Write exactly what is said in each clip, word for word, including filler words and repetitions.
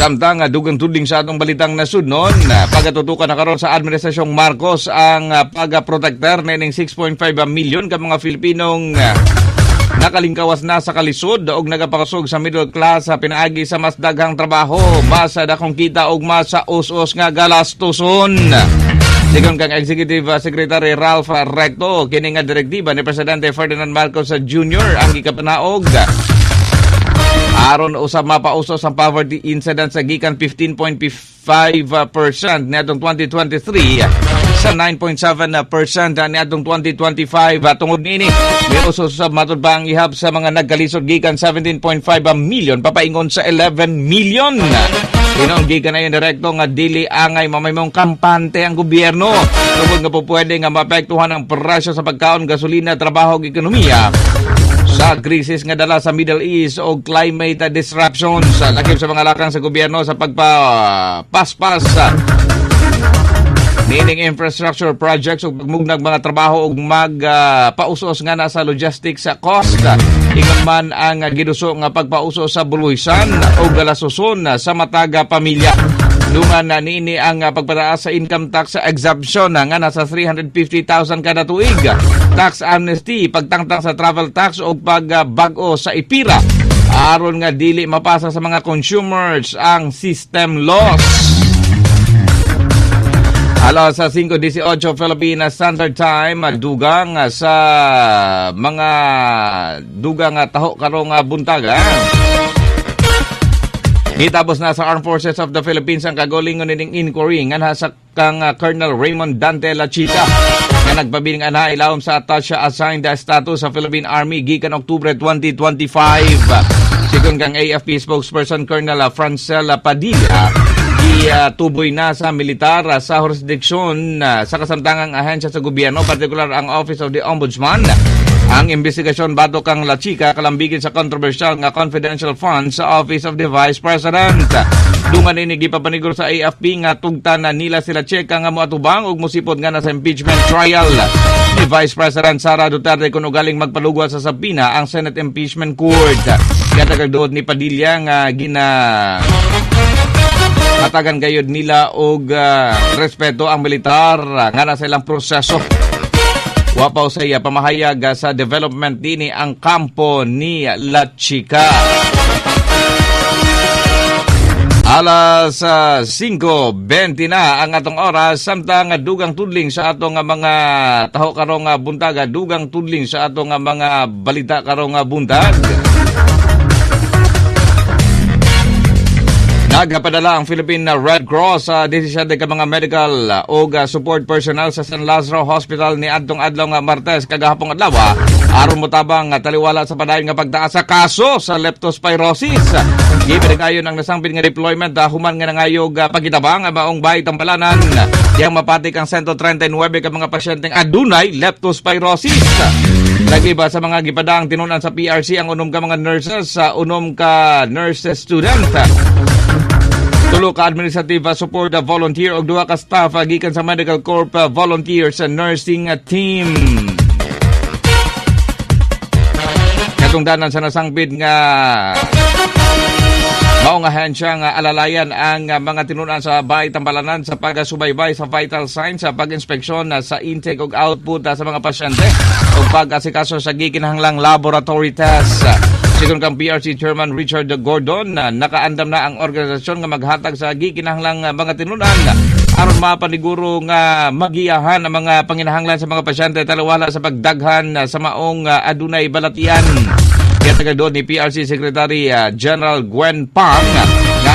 Samtang dugang tudling sa atong balitang nasudnon, pagatutukan na karon sa Administrasyong Marcos ang pagaprotektar nining six point five milyon ka mga Filipinong nakalingkawas na sa kalisod og nagapakusog sa middle class sa pinaagi sa mas daghang trabaho, mas dakong kita og mas us-us nga galastuson. Sigon kang Executive Secretary Ralph Recto, kini nga direktiba ni Presidente Ferdinand Marcos Junior ang gikapanaog aron usab mapausos ang poverty incidence sa gikan fifteen point five percent niadtong twenty twenty-three sa nine point seven percent niadtong twenty twenty-five. Tungod niini, miusos usab matud pa ang ihap sa mga nagkalisod gikan seventeen point five million papaingon sa eleven million. Hinuon gikan na yung direkto nga dili angay mamahimong kampante ang gobyerno tungod nga po pwede nga maapektuhan ang presyo sa pagkaon, gasolina, trabaho ug ekonomiya sa krisis nga dala sa Middle East o climate disruptions, lakip sa mga lakang sa gobyerno sa pagpapaspas niining infrastructure projects ug pagmugnag mga trabaho ug magpausos uh, nga na sa logistics sa cost. Ingon man ang giduso nga pagpauso sa buluhisan o galasuson sa mataga pamilya. Dungan na niini ang pagpataas sa income tax exemption nga nasa three hundred fifty thousand kada tuig. Tax amnesty, pagtangtang sa travel tax o pagbag-o sa EPIRA aron nga dili mapasa sa mga consumers ang system loss. Alas sa singko eighteen Philippine Standard Time, dugang sa mga dugang taho karong buntag. Gitapos na sa Armed Forces of the Philippines ang kagalingon nining inquiry nga sa kang uh, Colonel Raymond Dante Lachica nga nagpabiling anha ilawom sa attaché assigned status sa Philippine Army gikan Oktubre twenty twenty-five. Sigon kang A F P spokesperson Colonel Francel Padilla, gituboy na sa militar sa jurisdiksyon sa kasamtangang ahensya sa gobyerno, partikular ang Office of the Ombudsman, ang investigasyon batok kang Lachica kalambigit sa controversial nga confidential funds sa Office of the Vice President. Dungan ini gipapaniguro sa A F P nga tugtan na nila si Lachica nga moatubang ug mosipod nga na sa impeachment trial ni Vice President Sara Duterte kung ugaling magpalugwa sa subpoena ang Senate Impeachment Court. Gatagag ni Padilla nga gina hatagan gayud nila og uh, respeto ang militar nga nasa ilang proseso. Wa pa sa iya pamahayag sa development dinhi ang kampo ni Lachica. Alas uh, singko bente na ang atong oras, samtang dugang tudling sa atong mga taho karong buntag, dugang tudling sa atong mga balita karong buntag. Nagapadala ang Philippine Red Cross sa desisyon ka mga medical o support personnel sa San Lazaro Hospital ni adtong adlaw nga Martes, kagahapong adlaw, aron motabang taliwala sa padayon nga pagtaas sa kaso sa leptospirosis. Gipadayon ang nasangpit nga deployment human nga nangayog pagitabang ang maong bahay tambalanan yang mapatik ang one hundred thirty-nine ka mga pasyenteng adunay leptospirosis. Nagiba sa mga gipadang tinunan sa P R C ang unom ka mga nurses sa unom ka nurse student, tulo ka administrative support volunteer ug duha ka staff gikan sa Medical Corps Volunteers Nursing Team. Katungdanan sa nasangpit nga mao nga ahensya nga alalayan ang mga tinunan sa bahay tambalanan sa pagasubaybay sa vital signs, sa pag-inspeksyon sa intake ug output sa mga pasyente ug pag-asikaso sa gikinahanglang laboratory test. Sigon kang P R C Chairman Richard Gordon, na nakaandam na ang organisasyon nga maghatag sa gikinahanglang mga tinunan aron mapaniguro nga magiyahan ang mga panginahanglan sa mga pasyente taliwala sa pagdaghan sa maong adunay balatian. Kaya doon ni P R C Secretary General Gwen Pang nga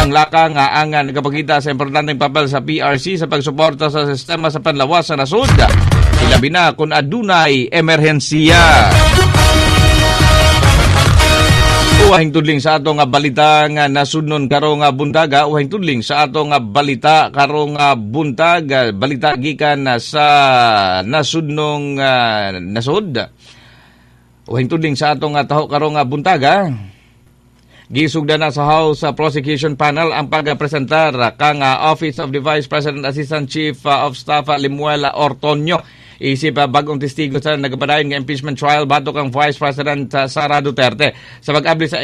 ang lakang nga ang nagapakita sa importanteng papel sa P R C sa pagsuporta sa sistema sa panlawas sa nasod, ilabi na kung adunay emerhensiya. Uwahing tudling sa atong balita nga nasudnon karong buntaga, uwahing tudling sa atong balita karong buntag, balita gikan sa nasudnong uh, nasod. Uwahing tudling sa atong taho karong buntaga. Gisugda na sa House Prosecution Panel ang pagpresentar kang Office of the Vice President Assistant Chief of Staff Lemuel Ortonio isip bagong testigo sa nagapadayon nga impeachment trial batok ang Vice President Sara Duterte. Sa pag-abli sa